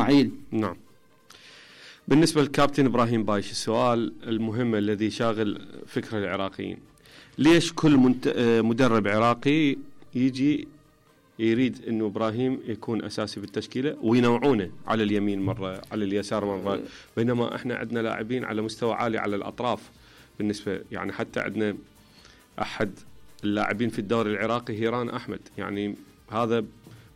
اسماعيل. نعم. بالنسبة للكابتن إبراهيم بايش، السؤال المهم الذي شاغل فكر العراقيين: ليش كل مدرب عراقي يجي يريد أنه إبراهيم يكون أساسي بالتشكيلة وينوعونه على اليمين مرة على اليسار مرة، بينما إحنا عندنا لاعبين على مستوى عالي على الأطراف؟ بالنسبة يعني حتى عندنا أحد اللاعبين في الدوري العراقي هيران أحمد، يعني هذا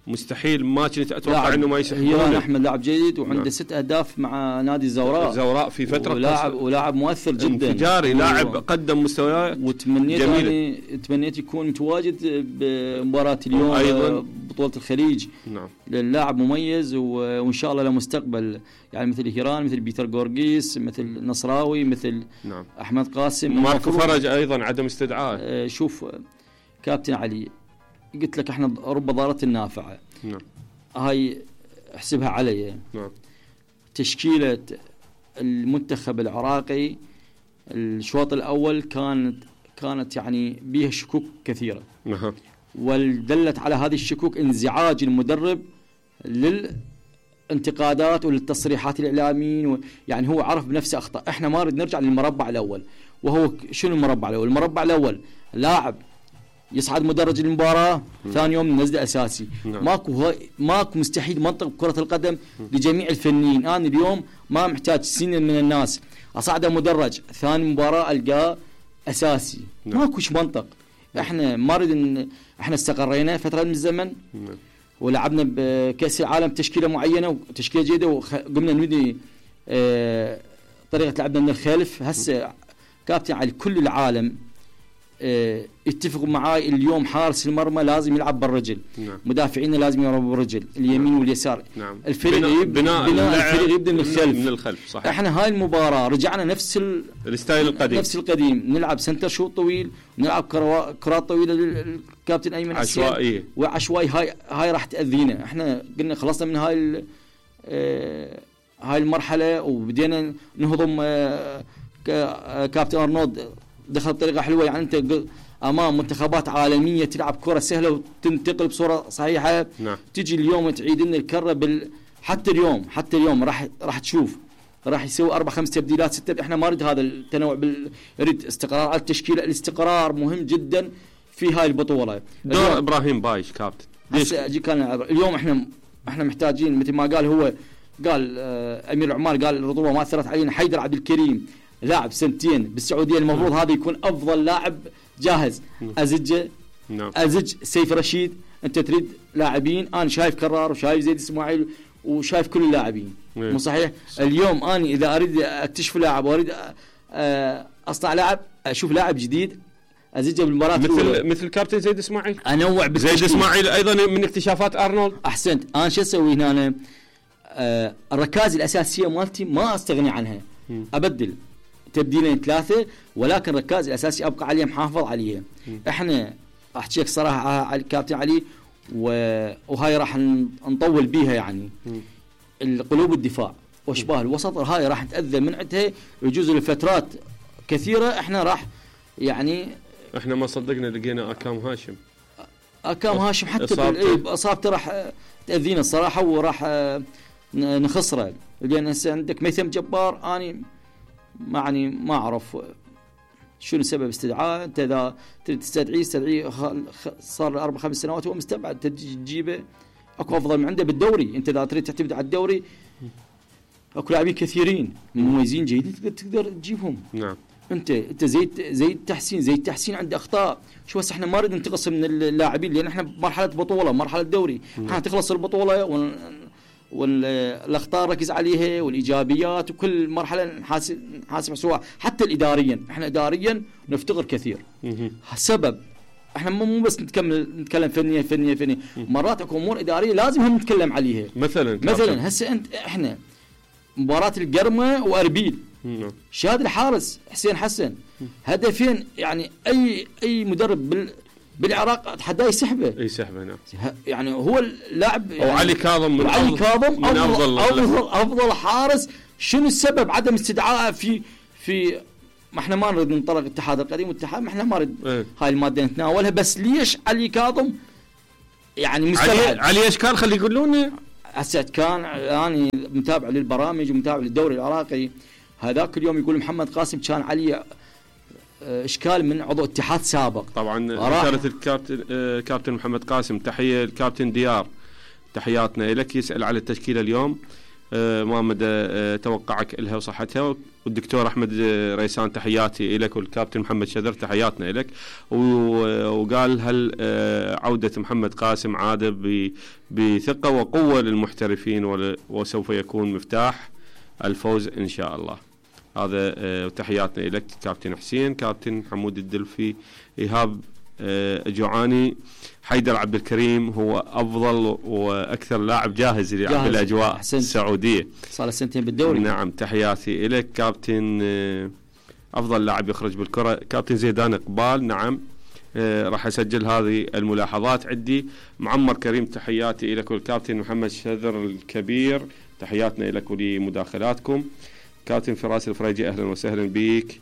مستحيل ما كنت أتوقع أنه ما يسحبونه. هيران أحمد لاعب جيد وعنده 6 أهداف مع نادي الزوراء في فترة، ولاعب مؤثر جدا انفجاري، لاعب قدم مستويات وتمنيت يكون متواجد بمباراة اليوم أيضا بطولة الخليج. نعم. اللاعب مميز وإن شاء الله له مستقبل، يعني مثل هيران، مثل بيتر غورغيس، مثل نصراوي، مثل نعم. أحمد قاسم، ماركو فرج أيضا عدم استدعاء. شوف كابتن علي، قلت لك احنا رب ضارة النافعة. نعم. هاي احسبها علي. نعم. تشكيلة المنتخب العراقي الشوط الأول كانت يعني بيها شكوك كثيرة. نعم. ودلت على هذه الشكوك انزعاج المدرب للانتقادات وللتصريحات الإعلاميين، يعني هو عرف بنفسه أخطأ. احنا ما نريد نرجع للمربع الأول. وهو شنو المربع الأول؟ المربع الأول لاعب يصعد مدرج المباراة، ثاني يوم ننزله أساسي. نعم. ماكو مستحيل منطق كرة القدم لجميع الفنيين. أنا اليوم ما محتاج سنين من الناس أصعده مدرج، ثاني مباراة ألقاه أساسي. نعم. ماكوش منطق. احنا ما نريد احنا استقرينا فترة من الزمن. نعم. ولعبنا بكأس العالم تشكيلة معينة وتشكيلة جيدة، وقمنا نبني طريقة لعبنا من الخلف. هسه كابتن على كل العالم اتفقوا معاي اليوم حارس المرمى لازم يلعب بالرجل. نعم. مدافعين لازم يلعبوا بالرجل اليمين واليسار. نعم. الفريق بناء الفريق يبدا من الخلف. صحيح. احنا هاي المباراة رجعنا نفس الستايل القديم، نفس القديم، نلعب سنتر شوط طويل، نلعب كرات طويلة للكابتن أيمن عشوائية وعشوائي. هاي راح تأذينا. احنا قلنا خلصنا من هاي المرحلة وبدينا نهضم. كابتن أرنولد دخل بطريقة حلوة، يعني أنت أمام منتخبات عالمية تلعب كرة سهلة وتنتقل بصورة صحيحة. نعم. تيجي اليوم تعيد لنا الكرة حتى اليوم راح تشوف راح يسوي 4-5 تبديلات 6. احنا ما نريد هذا التنوع نريد استقرار على التشكيلة. الاستقرار مهم جدا في هاي البطولة. دور إبراهيم بايش كابتن اليوم احنا محتاجين مثل ما قال أمير العمال، قال الرطوبة ما أثرت علينا. حيدر عبد الكريم لاعب 2 سنين بالسعودية، المفروض هذا يكون أفضل لاعب جاهز. أزج سيف رشيد. أنت تريد لاعبين، أنا شايف كرار وشايف زيد اسماعيل وشايف كل اللاعبين. مو صحيح؟ اليوم أنا إذا أريد أكتشف لاعب وأريد أصنع لاعب، أشوف لاعب جديد أزجه بالمباراة مثل كابتن زيد اسماعيل. أنوع زيد اسماعيل أيضا من اكتشافات أرنولد. أحسنت. أنا شو أسوي هنا؟ الركائز الأساسية مالتي ما أستغني عنها. أبدل تبديلين 3، ولكن الركائز الأساسي أبقى عليه محافظ عليها. إحنا أحكي لك صراحة على الكابتن علي، وهاي راح نطول بيها يعني. القلوب الدفاع واشباه الوسط هاي راح نتأذى من عندها، يجوز لفترات كثيرة. إحنا راح يعني إحنا ما صدقنا لقينا أكام هاشم حتى أصابته راح تأذينا الصراحة، وراح نخسره. لأن هسه عندك ميثم جبار، أنا يعني ما أعرف شنو سبب استدعاء. أنت إذا تستدعيه صار 4-5 سنوات هو مستبعد، تجيبه أكو أفضل من عنده بالدوري. أنت إذا تريد تعتمد على الدوري أكو لاعبين كثيرين مميزين جيدين تقدر تجيبهم. نعم. أنت زي التحسين عنده أخطاء. شو بس إحنا ما نريد ننتقص من اللاعبين، لأن إحنا مرحلة بطولة، مرحلة دوري. إحنا تخلص البطولة والأخطاء ركز عليها والإيجابيات، وكل مرحلة نحاسب سواء. حتى الإداريا، إحنا إداريا نفتقر كثير. سبب إحنا مو بس نتكلم فنية. مرات أكو أمور إدارية لازم هم نتكلم عليها. مثلا هسه إحنا مباراة القرمة وأربيل، شاد الحارس حسين حسن، هدفين يعني أي مدرب بالعراق اتحداه يسحبه. نعم. يعني هو اللاعب يعني علي كاظم من افضل حارس. شنو السبب عدم استدعائه في ما احنا ما نريد ننطلق الاتحاد القديم والاتحاد، ما احنا ما نريد هاي الماده نتناولها. بس ليش علي كاظم يعني مستبعد؟ علي اشكال خلي يقولون هسه كان اني متابع للبرامج ومتابع للدوري العراقي، هذاك اليوم يقول محمد قاسم كان علي اشكال من عضو اتحاد سابق. طبعا رساله كابتن محمد قاسم، تحيه الكابتن ديار، تحياتنا لك. يسال على التشكيله اليوم، ما مدى توقعك لها وصحتها؟ والدكتور احمد ريسان تحياتي لك، والكابتن محمد شذر تحياتنا لك. وقال هل عوده محمد قاسم عاده بثقه وقوه للمحترفين وسوف يكون مفتاح الفوز ان شاء الله. هذا تحياتنا لك كابتن حسين. كابتن حمود الدلفي، ايهاب جوعاني، حيدر عبد الكريم هو افضل واكثر لاعب جاهز للعب بالاجواء السعوديه، صار سنتين بالدوري. نعم تحياتي لك. كابتن افضل لاعب يخرج بالكره كابتن زيدان اقبال، نعم راح اسجل هذه الملاحظات عندي. معمر كريم تحياتي لك، والكابتن محمد شذر الكبير تحياتنا لك ولمداخلاتكم. كابتن فراس الفريجي اهلا وسهلا بك.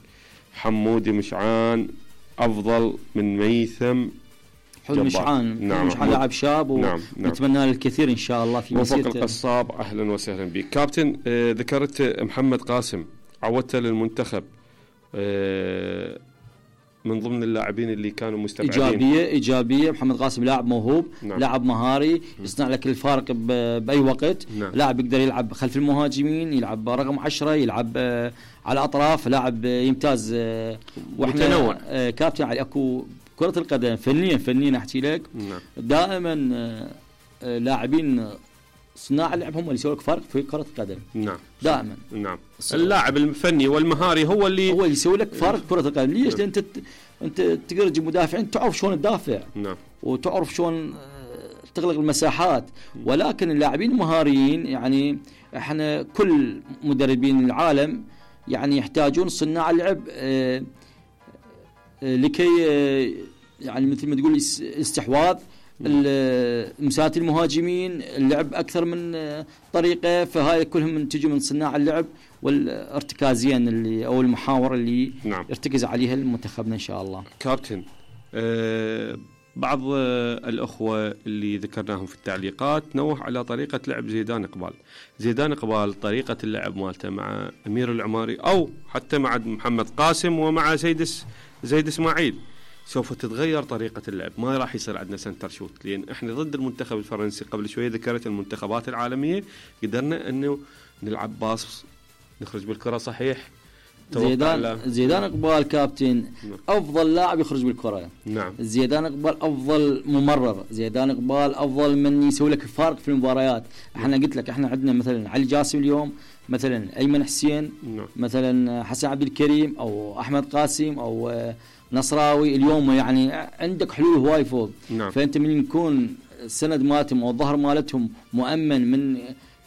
حمودي مشعان افضل من ميثم حلو مشعان. نعم مشعان لاعب شاب ونتمنى له الكثير ان شاء الله في مسيرته. وفق القصاب اهلا وسهلا بك. كابتن ذكرت محمد قاسم عودته للمنتخب، من ضمن اللاعبين اللي كانوا مستبعدين. ايجابيه. محمد قاسم لاعب موهوب، نعم. لاعب مهاري، يصنع لك الفارق باي وقت، نعم. لاعب يقدر يلعب خلف المهاجمين، يلعب رقم 10، يلعب على الاطراف، لاعب يمتاز. واحنا كابتن علي اكو كره القدم فنيا احكي لك، نعم. دائما لاعبين صناع اللعب هم اللي يسوي لك فرق في كره القدم، نعم دائما، نعم. اللاعب الفني والمهاري هو اللي يسوي لك فرق كره القدم. ليش؟ لان انت تقدر تجيب مدافعين تعرف شلون تدافع، نعم، وتعرف شلون تغلق المساحات. ولكن اللاعبين المهاريين يعني احنا كل مدربين العالم يعني يحتاجون صناع اللعب لكي يعني مثل ما تقول استحواذ مساحات المهاجمين، اللعب اكثر من طريقه. فهاي كلهم تجي من صناع اللعب والارتكازيين اللي او المحاور اللي نعم. يرتكز عليها المنتخبنا ان شاء الله. كابتن بعض الاخوه اللي ذكرناهم في التعليقات نوه على طريقه لعب زيدان اقبال طريقه اللعب مالته مع امير العماري او حتى مع محمد قاسم ومع زيد اسماعيل سوف تتغير طريقة اللعب. ما راح يصير عندنا سنتر شوت، لأن احنا ضد المنتخب الفرنسي. قبل شوية ذكرت المنتخبات العالمية قدرنا انه نلعب باص نخرج بالكرة صحيح. زيدان اقبال كابتن افضل لاعب يخرج بالكرة، نعم. زيدان اقبال افضل ممرر، زيدان اقبال افضل من يسوي لك الفارق في المباريات. احنا قلت لك احنا عندنا مثلا علي جاسم اليوم، مثلا ايمن حسين، نعم. مثلا حسن عبد الكريم او احمد قاسم او نصراوي. اليوم يعني عندك حلول هواي فوق، نعم. فانت من يكون السند مالتهم او الظهر مالتهم مؤمن من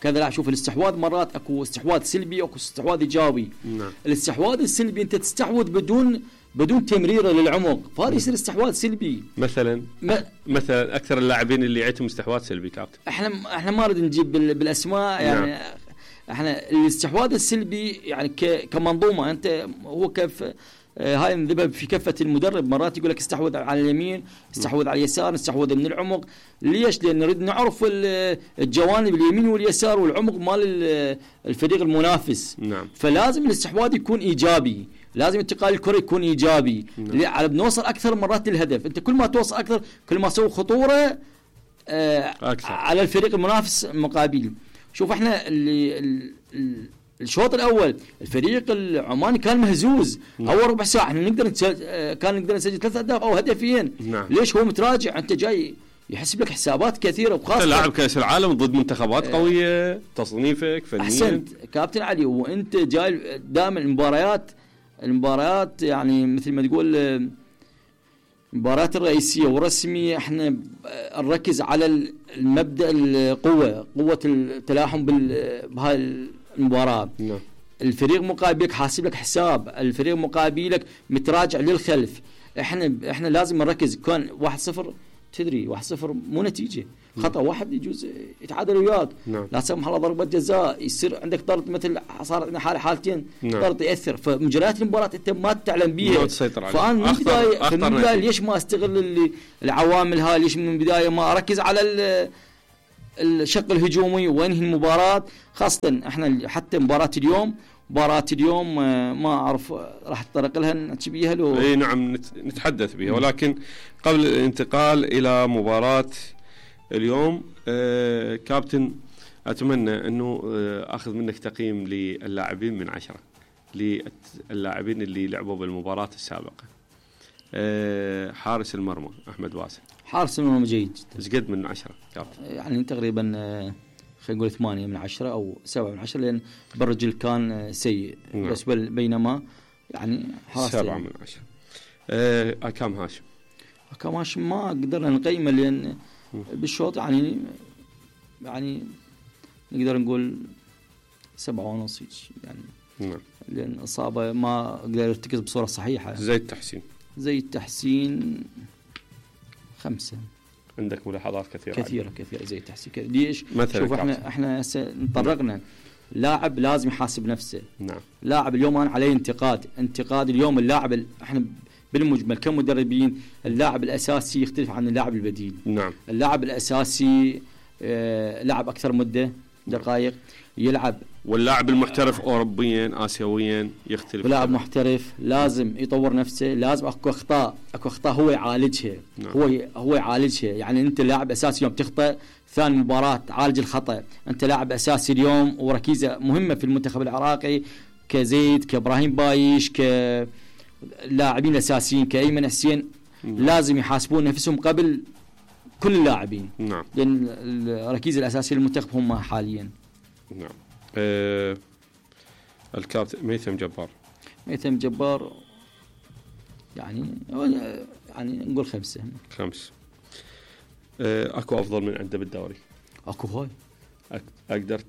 كذا. لا شوف الاستحواذ مرات اكو استحواذ سلبي واكو استحواذ ايجابي، نعم. الاستحواذ السلبي انت تستحوذ بدون تمريره للعمق، فهذا يصير استحواذ سلبي. مثلا اكثر اللاعبين اللي عندهم استحواذ سلبي كابتن، احنا ما نريد نجيب بالاسماء يعني، نعم. احنا الاستحواذ السلبي يعني كمنظومه انت هو كيف هاي نذبها في كفة المدرب. مرات يقول لك استحوذ على اليمين، استحوذ على اليسار، استحوذ من العمق. ليش؟ لأن نريد نعرف الجوانب اليمين واليسار والعمق مال الفريق المنافس، نعم. فلازم الاستحواذ يكون إيجابي، لازم انتقال الكرة يكون إيجابي، نعم. على بنوصل أكثر مرات للهدف. أنت كل ما توصل أكثر كل ما تسوي خطورة على الفريق المنافس المقابل. شوف احنا الشوط الاول الفريق العماني كان مهزوز، نعم. اول ربع ساعه احنا نقدر نسجل 3 اهداف او هدفين، نعم. ليش؟ هو متراجع، انت جاي يحسب لك حسابات كثيره، وخاصه لاعب كاس العالم ضد منتخبات قويه، تصنيفك فنيا. احسنت كابتن علي، وانت جاي دائما المباريات يعني مثل ما تقول المباريات الرئيسيه والرسميه احنا نركز على المبدا قوه التلاحم بهاي المباراة. نعم. الفريق مقابلك حاسب لك حساب، الفريق مقابلك متراجع للخلف. احنا لازم نركز. كان 1-0 تدري 1-0 مو نتيجة، خطأ واحد يجوز يتعادل وياك، نعم. لا سمح الله ضربة جزاء، يصير عندك طرد مثل صارت عندنا حالتين، نعم. طرد يأثر. فمجريات المباراة انت ما تعلم بيها، ما تسيطر عليها. فأنا من البداية ليش ما استغل العوامل هاي؟ ليش من البداية ما أركز على الشق الهجومي وانهي المباراه. خاصه احنا حتى مباراه اليوم ما اعرف راح اتطرق لها نحكي بيها لو اي نعم نتحدث بها، ولكن قبل الانتقال الى مباراه اليوم كابتن اتمنى انه اخذ منك تقييم للاعبين من 10 للاعبين اللي لعبوا بالمباراه السابقه. حارس المرمى احمد واسع، حارس المرمى جيد جدا. ايش قد من 10 كابتن؟ يعني تقريبا خلينا نقول 8 من 10 او 7 من 10 لان بالرجل كان سيء. نعم. بس بينما يعني حارس 7 من 10. اكام هاشم، اكام هاشم ما قدرنا نقيمه لان بالشوط يعني نقدر نقول 7.5 يعني. نعم. لان اصابه ما قدر يرتكز بصوره صحيحه. زي التحسين 5. عندك ملاحظات كثيرة زي التحسين ليش؟ شوف احنا انطرقنا لاعب لازم يحاسب نفسه. نعم. لاعب اليوم أنا عليه انتقاد اليوم اللاعب احنا بالمجمل كمدربين اللاعب الاساسي يختلف عن اللاعب البديل. نعم. اللاعب الاساسي لعب اكثر مده دقائق يلعب، واللاعب المحترف اوروبيا اسيويا يختلف. لاعب محترف لازم يطور نفسه، لازم اكو اخطاء هو يعالجها. نعم. هو يعالجها. يعني انت لاعب اساسي يوم تخطئ ثاني مباراه تعالج الخطا. انت لاعب اساسي اليوم وركيزه مهمه في المنتخب العراقي كزيد كابراهيم بايش كلاعبين الاساسيين كايمن حسين. نعم. لازم يحاسبون نفسهم قبل كل اللاعبين. نعم. لان الركيزه الاساسيه للمنتخب هم حاليا. نعم. الكابتن ميثم جبار يعني نقول 5. اكو افضل من عنده بالدوري؟ اكو هاي. اقدر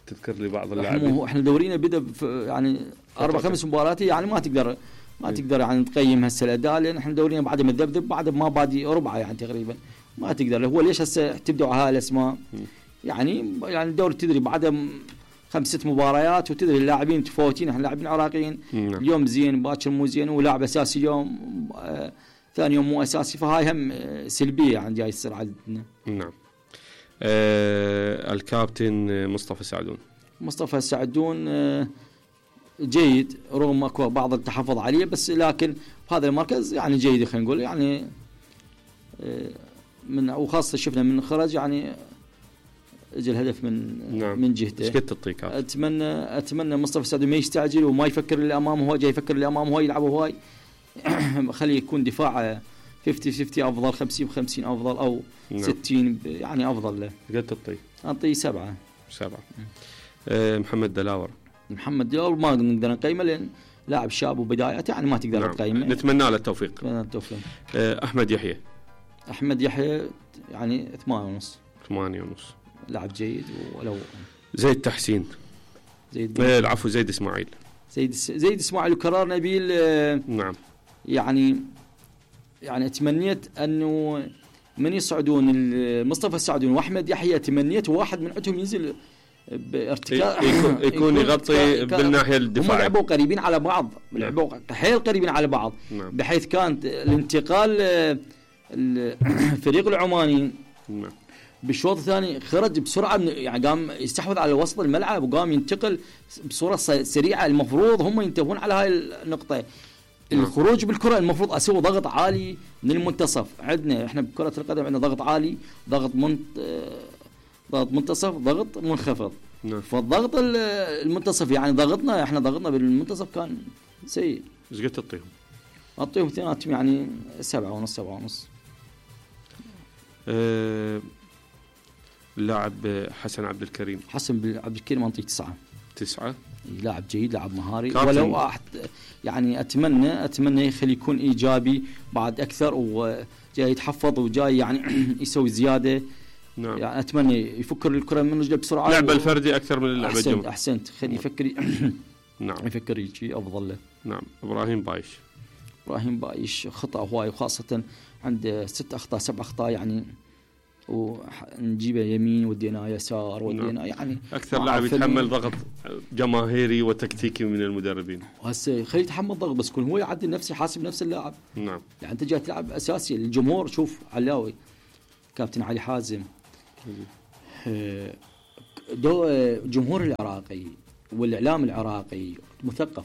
تذكر لي بعض اللاعبين؟ احنا دورينا بدا يعني 4-5 مباريات يعني ما تقدر يعني تقيم هسه الاداء لان احنا دورينا بعد مذبذب بعد ما بادي ربعه يعني تقريبا ما تقدر. هو ليش هسه تبدوا على هاي الاسماء؟ يعني الدوري تدري بعد 5-6 مباريات وتدري اللاعبين متفاوتين. احنا لاعبين عراقيين. نعم. اليوم زين باكر مو زين ولاعب اساسي اليوم ثاني يوم مو اساسي، فهاي هم سلبيه يعني جاي تصير عندنا. نعم. الكابتن مصطفى سعدون جيد رغم اكو بعض التحفظ عليه، بس لكن هذا المركز يعني جيد خلينا نقول يعني من وخاصه شفنا من خرج يعني اجى الهدف من جهته. ايش قد تعطيك؟ اتمنى مصطفى سعدون ما يستعجل وما يفكر اللي امامه، هو جاي يفكر اللي امامه هو يلعب هواي. خليه يكون دفاع 50-50 افضل، 50-50 افضل او 60 يعني افضل له. قد تعطيه؟ اعطيه 7. محمد دلاور ما نقدر نقيمه لان لاعب شاب وبدايته يعني ما تقدر تقيمه. نتمنى له التوفيق. احمد يحيى يعني 8.5. لاعب جيد. ولو زيد تحسين العفو زيد اسماعيل وكرار نبيل. نعم. يعني تمنيت انه من يصعدون مصطفى السعدون واحمد يحيى، تمنيت واحد من عندهم ينزل بارتكاز يكون يغطي بالناحيه الدفاعيه. هم لعبوا قريبين على بعض. لعبوا حيل قريبين على بعض. نعم. بحيث كانت الانتقال الفريق العماني بالشوط الثاني خرج بسرعه يعني قام يستحوذ على وسط الملعب وقام ينتقل بصوره سريعه. المفروض هم ينتبهون على هاي النقطه. الخروج بالكره المفروض اسوي ضغط عالي من المنتصف. عندنا احنا بكره القدم عندنا ضغط عالي، ضغط منتصف، ضغط منخفض. فالضغط المنتصف يعني ضغطنا بالمنتصف كان سيء. ايش قد تعطيهم؟ اعطيهم اثنيناتهم يعني 7.5. اللاعب حسن عبد الكريم انطيه 9. لاعب جيد، لاعب مهاري. ولو يعني اتمنى يخلي يكون ايجابي بعد اكثر وجاي يتحفظ وجاي يعني يسوي زياده. نعم. يعني اتمنى يفكر الكره من رجله بسرعه. لعبه الفردي اكثر من اللعبه الجماعيه. احسنت. خلي يفكر. نعم. يفكر يجي افضل له. نعم. ابراهيم بايش خطا هواي، وخاصه عنده 6 أخطاء 7 أخطاء يعني، ونجيبه يمين ودينا يسار ودينا يعني اكثر لاعب يتحمل ضغط جماهيري وتكتيكي من المدربين. هسه خليه يتحمل ضغط بس يكون هو يعدل نفسه، يحاسب نفس اللاعب. نعم. يعني انت جاي تلعب اساسي الجمهور. شوف علاوي كابتن علي حازم جمهور العراقي والاعلام العراقي مثقف.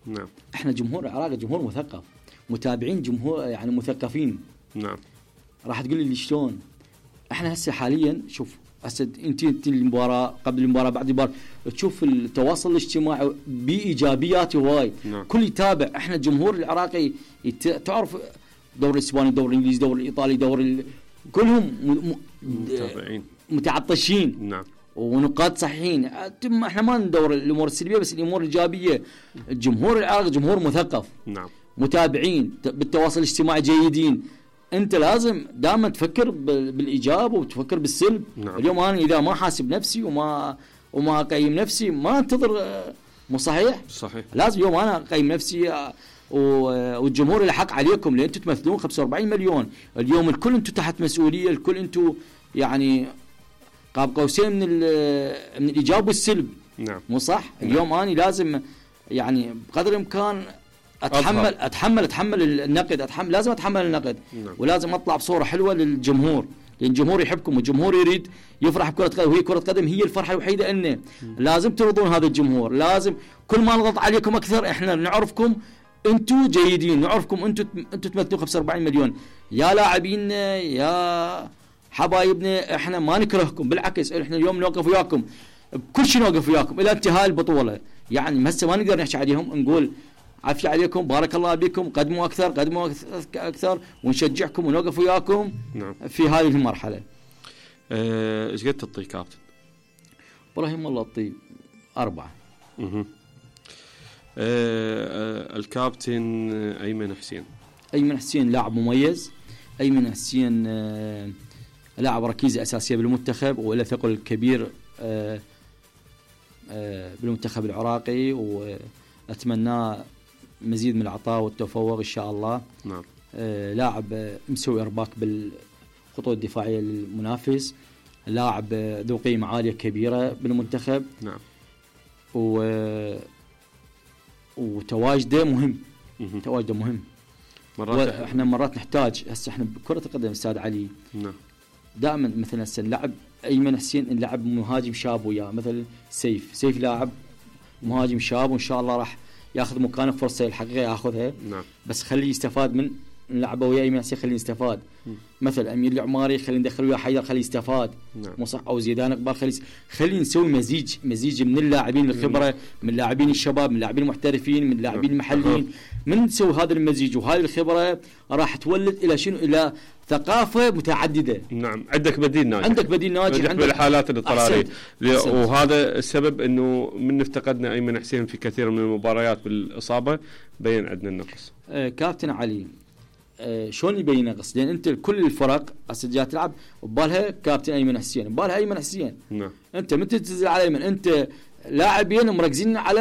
نعم. احنا جمهور العراقي جمهور مثقف، متابعين جمهور يعني مثقفين. نعم. راح تقول لي شلون؟ احنا هسه حاليا شوف، هسه انت المباراه قبل المباراه بعد المباراه تشوف التواصل الاجتماعي بايجابيات هواي. نعم. كل يتابع. احنا الجمهور العراقي تعرف دوري الاسباني، دوري الانجليزي، دوري الايطالي، كلهم متابعين متعطشين. نعم. ونقاط صحيحين. احنا ما ندور الامور السلبيه بس الامور الايجابيه. الجمهور العراقي جمهور مثقف. نعم. متابعين بالتواصل الاجتماعي جيدين. انت لازم دائما تفكر بالايجاب وتفكر بالسلب. نعم. اليوم انا اذا ما حاسب نفسي وما اقيم نفسي ما انتظر. مو صحيح؟ صحيح. لازم يوم انا اقيم نفسي والجمهور له حق عليكم لان انتم تمثلون 45 مليون. اليوم الكل انتم تحت مسؤوليه، الكل انتم يعني قاب قوسين من الايجاب والسلب. نعم. مو صح؟ نعم. اليوم انا لازم يعني بقدر الامكان اتحمل النقد، لازم اتحمل النقد. نعم. ولازم اطلع بصوره حلوه للجمهور، لان الجمهور يحبكم والجمهور يريد يفرح بكره قدم، وهي كره قدم هي الفرحه الوحيده. انه لازم ترضون هذا الجمهور. لازم كل ما نضغط عليكم اكثر احنا نعرفكم انتم جيدين، نعرفكم انتم تمثلون 45 مليون يا لاعبينا يا حبايبنا. احنا ما نكرهكم، بالعكس احنا اليوم نوقف وياكم بكل شيء، نوقف وياكم الى انتهاء البطوله. يعني هسه ما نقدر نحكي عليهم، نقول عافية عليكم، بارك الله بكم، قدموا اكثر ونشجعكم ونوقف وياكم. نعم. في هذه المرحله. ايش قد تعطي كابتن؟ ابراهيم والله اعطي 4. الكابتن ايمن حسين لاعب مميز. ايمن حسين لاعب ركيزه اساسيه بالمنتخب وله ثقل كبير بالمنتخب العراقي، واتمناه مزيد من العطاء والتفوق ان شاء الله. نعم. لاعب مسوي ارباك بالخطوط الدفاعيه للمنافس، لاعب ذو قيمه عاليه كبيره بالمنتخب. نعم. وتواجده مهم. تواجده مهم. احنا مرات نحتاج هسه احنا بكره القدم استاذ علي. نعم. دائما مثلا هسه نلعب ايمن حسين، نلعب مهاجم شاب وياه مثل سيف لاعب مهاجم شاب، وان شاء الله راح ياخذ مكانه فرصه الحقيقه ياخذها. نعم. بس خليه يستفاد من نلعبه وياه ايمن حسين، خليه يستفاد. مثل امير العماري خليه ندخل وياه حيدر خليه يستفاد. نعم. مو صح؟ او زيدان اقبال خليه نسوي مزيج من اللاعبين الخبره، من اللاعبين الشباب، من اللاعبين المحترفين، من اللاعبين المحليين. من نسوي هذا المزيج وهذه الخبره راح تولد الى شنو؟ الى ثقافه متعدده. نعم. عندك بديل ناجح عندك بالحالات الاضطراريه. وهذا السبب انه من افتقدنا ايمن حسين في كثير من المباريات بالاصابه بين عندنا النقص. كابتن علي شلون يبين نقص؟ لان انت كل الفرق هسه جاي تلعب وبالها كابتن ايمن حسين، ببالها ايمن حسين. نعم. انت متى تنزل على ايمن؟ انت لاعبين مركزين على